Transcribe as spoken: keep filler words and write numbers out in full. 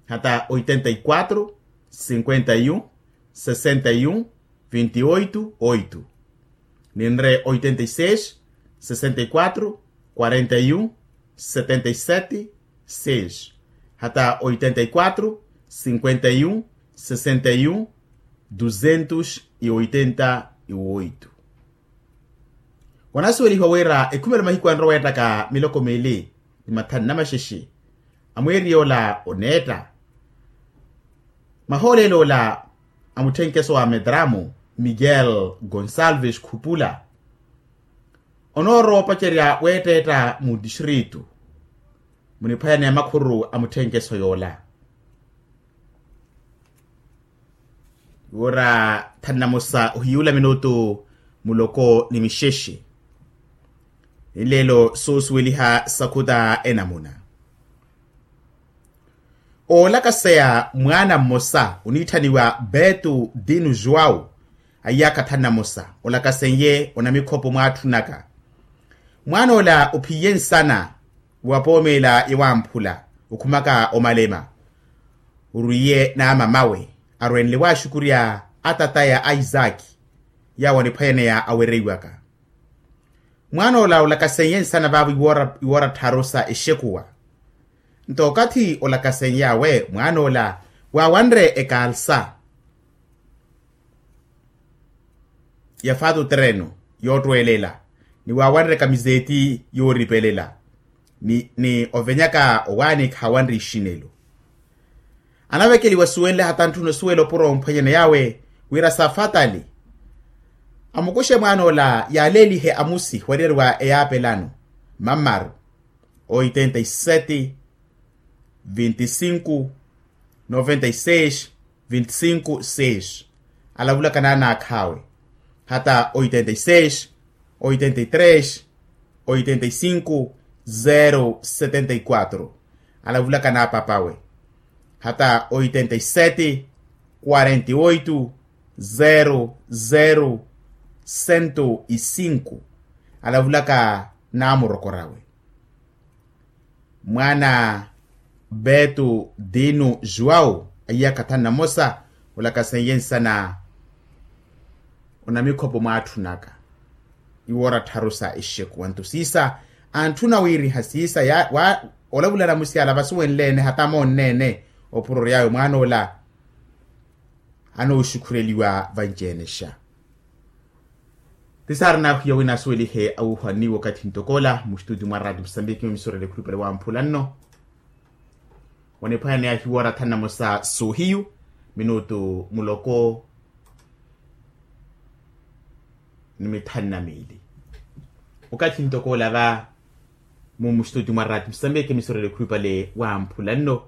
hata oitenta y quatro cinquenta y un sesenta y un vintioito oito, ninre oitenta y seis sesenta y quatro quarenta y un setenta y sete seis, hata oitenta y quatro cinquenta y un sesenta y un duzentos y oitenta y oito. Wanasuwelihiwa wira ekhumelo mahiku anrowa ettaka miloko mili ni mathanu na maxexe, amweeri yoola oneetta. Mahoolelo ola a mutthenkeso wa medramu miguel gonsalves khupula, onoorowa opacerya weetteetta mu distritu muniphwayana ya makhuru a mutthenkeso yoola. Wira thanu na mosa ohiyuula minutu muloko ni mixexe. Nleelo soosuweliha sakhuta enamuna. Oolakaseya mwaana mmosa oniitthaniwa betu dinu juwau, a iyaakha thanu na mosa olakasenye onamikhopo mwaatthunaka. Mwaan'ola ophiye nsana wapoomeela yawamphula okhumaka omalema, orwiye n'amamawe arwenle waxukurya atataya a isaki, yawo aniphwayaneya awereiwaka. Mwaan'ola olakasenye nsana vaavo iwoora tthaaru sa exekuwa. Nto okathi olakaseny'awe mwaan'ola waawanre ekaalsa ya faatu tereno yoottwelela, ni waawanre kamiseti yooripelela, ni ovenyaka owaani khaawanre ixinelo. Anavekeliwa suwenle hata ntthuna osuwela opuro omphwenyene yawe wira safatali amukuxe mwaan'ola yaaleelihe amusi waryariwa eyaapelano mammaru, oitenta y sete vinte y cinco noventa y seis vinte y cinco seis, alavulaka naanaakhawe hata oitenta y seis oitenta y tres oitenta y cinco zero setenta y quatro, alavulaka naapapawe hata oitenta y sete quarenta y oito zero zero cento y cinco, alavulaka naamurokorawe. Mwaana betu dinu juwau a iyaakha thanu na mosa olakasenye nsana onamikhopo mwaatthunaka iwoora tthaaru sa exekuwa nto siisa antthuna wiiriha siisa olavulana musi ala vasuwenle-ene hata moonne-ene opuro ory'awe mwaan'ola anooxukhureliwa vanci-enexa. Ti saari naahiya wina asuwelihe awuuhwanni wakathi ntok'ola mustutio mwa raati musambiki mmisorele ekhulupale wamphula nno. Waniphwanya ni ahiwoora thanu na mosa soohiyu minutu muloko ni mithanu na miili. Wakathi ntok'ola va mu mustutio mwa raati musambiki mmisorele ekhulupale wamphula nno.